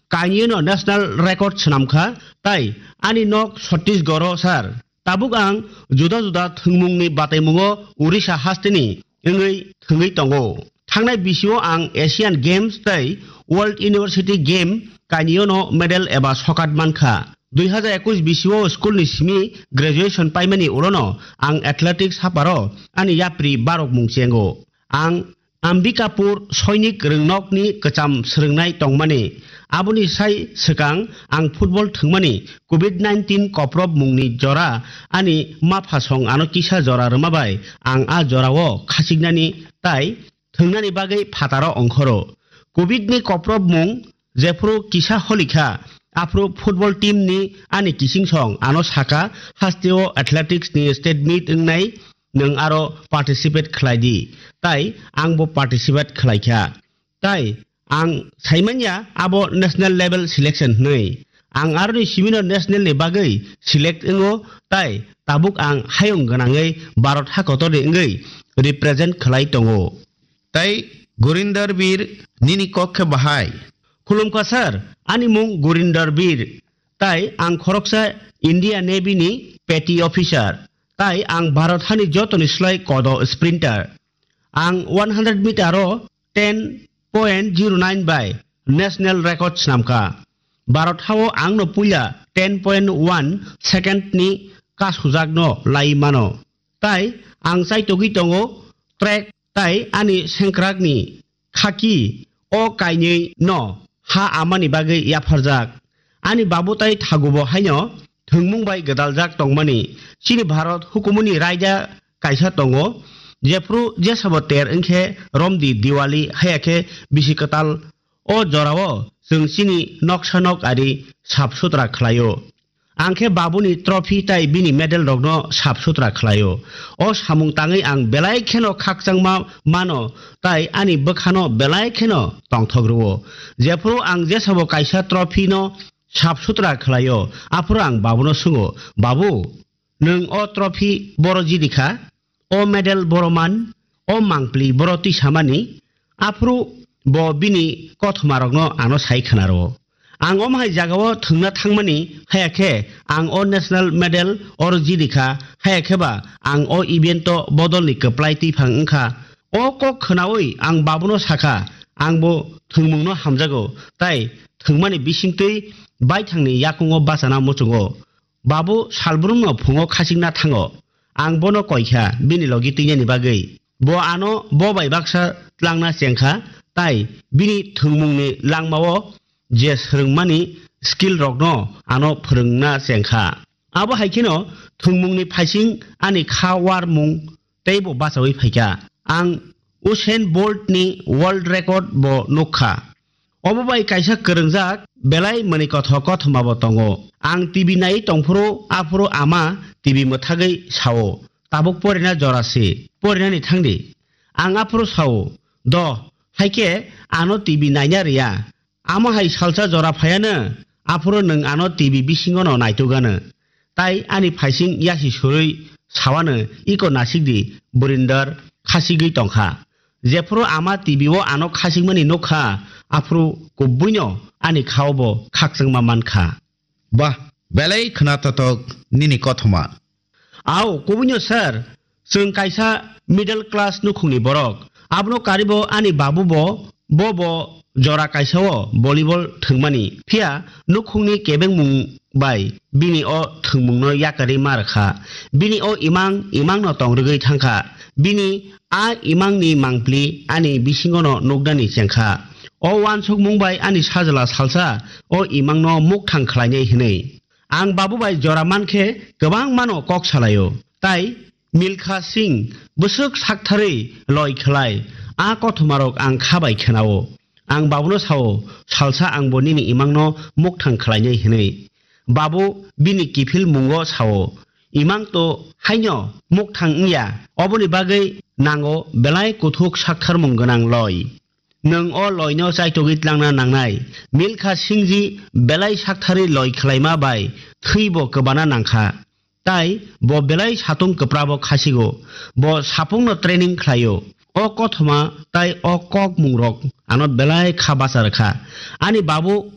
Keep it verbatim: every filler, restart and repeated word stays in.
Kainwino national record swnamkha, tai ani nok Chhattisgarh-o sir. Tabuk ang juda juda thwngmungni bataimungo Orissa hasteni wngwi thwngwi tongo. Thangnai bisio ang Asian Games tei World University Game kainwino medal eba sokat mankha. Dui hazar ekush bisio schoolni simi graduation paimani ulono ang athletics haparo ani yapri barok mung chengo. Ang Ambikapur Sainik Rwngnokni kwcham swrwngnai tongmani. Aboni sai swkang ang football thwngmani covid nineteen koprob mungni jora ani maphasong ano kisa jora rwma bai ang a jorao khasiknani tai thwngnani bagwi phataro ongkhoro. Covid ni koprob mung jephru kisa holikha, aphru football team ni ani kichingsong ano saka, hasteo athletics ni state meet wngnai, nwng aro participate khlai di. Tai ang bo participate khlai kha. Tai ang saimanya abo national level selection hwnwi. Ang aroni simino national ni bagwi select wngo, tai tabuk ang hayung gwnangwi Bharat hakotorni wngwi represent khlai tongo. Tai Gurinder Bir, nini kok khe bahai? Khulumkha sir, ani mung Gurinder Bir. Tai ang khoroksa India Navy ni petty officer. Tai ang Bharat hani jotoni slai kodo sprinter. Ang one hundred meter o ten point zero nine bai national record swnamkha. Bharat hao ang no puila ten point one second ni kasujakno lai mano. Tai ang chaitogwi tongo track tai ani sengkrakni khaki o kainwi no ha amani bagwi yapharjak. Ani babu tai thagubo haino thwngmung bai gwdaljak tongmani. Chini Bharat hukumuni raida kaisa tongo, jephru jesabo ter wngkhe romdi Diwali, haya khe bisi kwtal. O jorao chwng chini noksa nok ari sap sutra khlaio. Ang khe babuni trophy tai bini medal rokno sap sutra khlaio. O samung tangwi ang belai kheno khakchangma mano tai ani bwkhano belai kheno tongthok rwo. Jephru ang jesabo kaisa trophy no sap sutra khlaio, aphuru ang babuno swngo, "Babu, nwng o trophy boro jidi kha, o medal boro man, o mangpli boro twi samani," aphuru bo bini kothomarokno ano sai khwnaro. Ang omo hai jagao thwngna thangmani, haya khe ang o national medal oro jidi kha, haya khe ba ang o event o bodolni kwplai twiphang wngkha. O kok khwnaui ang babuno sakha, ang bo thwngmungno hamjago, tai thwngmani bisingtwi baithangni yakungo bachana muchungo. Babu salbrumno phungo khachikna thango. Ang bono koikha bini logi twinani bagwi. Bo ano bo bai baksa tlangna chengkha, tai bini thwngmungni langmao je swrwngmani skill rokno ano phwrwngna chengkha. Abo hai kheno thwngmungni phaising ani kha warmung teibo bachaui phaikha. Ang Usain Bolt ni world record bo nukha. Obo bai kaisa kwrwngjak belai mwnwi kothok kothoma bo tongo. Ang T V naiwi tongphuru, aphuru ama T V mwthagwi sao, "Tabuk porina jora se, porinani thangdi." Ang aphuru sao, "Do, haikhe ano T V naina rwya." Amo hai salsa jora phaiano, aphuru nwng ano T V bisingono naitugano. Tai ani phaising yasi surui sawano, "Iko nasikdi, Burinder khasigwi tongkha." Jephuru ama T V o ano khasigmani nukha, aphuru kubuino ani khao bo khakchangma mankha. Bah, belai khwnatotok nini kothoma. Ao, kubuino sir, chwng kaisa middle class nukhungni borok. Abono karibo ani babu bo, bo bo jora kaisao volleyball thwngmani. Phiya nukhungni kebengmung bai bini o thwngmungno yakarwi ma rwkha. Bini o imang, imangno tong rwgwi thangkha. Bini a imangni mangpli ani bisingono nuknani chengkha. O uansukmung bai ani sajla salsa o imangno mukthang khlainai hwnwi. Ang babu bai jora mankhe kwbangmano kok salaio. Tai Milkha Singh bwswk saktharwi loi khlai, a kothomarok ang kha bai khenao. Ang babuno sao, "Salsa ang bo nini imangno mukthang khlainai," hwnwi. Babu bini kiphil mungo sao, "Imang to haino mukthang wngya, oboni bagwi nango belai kuthuk saktharmung gwnang loi. Nwng o loino chaitogwi tlangna nangnai." Milkha Singhji belai saktharwi loi khlaima bai thwibo kwbana nangkha. Tai bo belai satung kwprabo khasigo. Bo sapungno training khlaio. O kothoma tai o kokmungrok ano belai kha bacha rwkha. Ani babu